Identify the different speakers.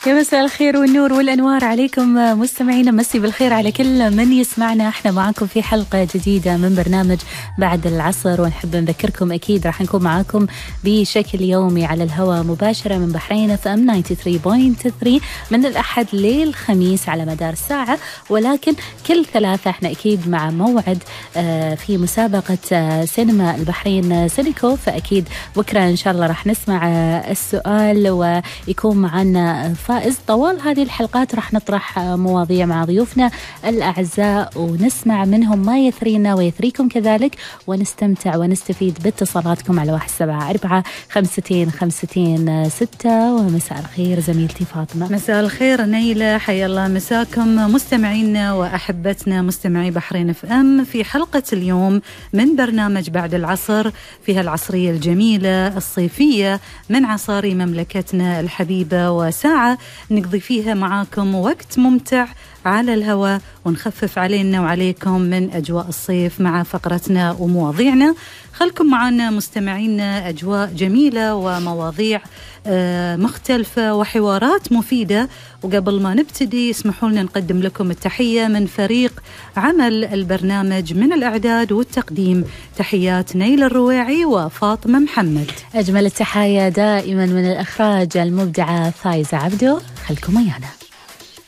Speaker 1: يا مساء الخير والنور والأنوار عليكم مستمعينا، مسي بالخير على كل من يسمعنا. احنا معاكم في حلقة جديدة من برنامج بعد العصر، ونحب نذكركم أكيد راح نكون معاكم بشكل يومي على الهواء مباشرة من بحرين FM 93.3 من الأحد للخميس على مدار الساعة، ولكن كل ثلاثة احنا أكيد مع موعد في مسابقة سينما البحرين سينيكو. فأكيد بكرة إن شاء الله راح نسمع السؤال ويكون معنا فائز. طوال هذه الحلقات راح نطرح مواضيع مع ضيوفنا الأعزاء ونسمع منهم ما يثرينا ويثريكم كذلك، ونستمتع ونستفيد باتصالاتكم على 1745 ومساء الخير زميلتي فاطمة.
Speaker 2: مساء الخير نيلة، حيا الله مساكم مستمعينا وأحبتنا مستمعي بحرين FM في حلقة اليوم من برنامج بعد العصر، فيها العصرية الجميلة الصيفية من عصاري مملكتنا الحبيبة، وساعة نقضي فيها معاكم وقت ممتع على الهواء ونخفف علينا وعليكم من أجواء الصيف مع فقرتنا ومواضيعنا. خلكم معنا مستمعينا، أجواء جميلة ومواضيع مختلفة وحوارات مفيدة. وقبل ما نبتدي اسمحوا لنا نقدم لكم التحية من فريق عمل البرنامج من الإعداد والتقديم. تحيات نيل الرويعي وفاطمة محمد.
Speaker 1: أجمل التحايا دائما من الإخراج المبدعة فايزة عبدو. خلكم ويانا.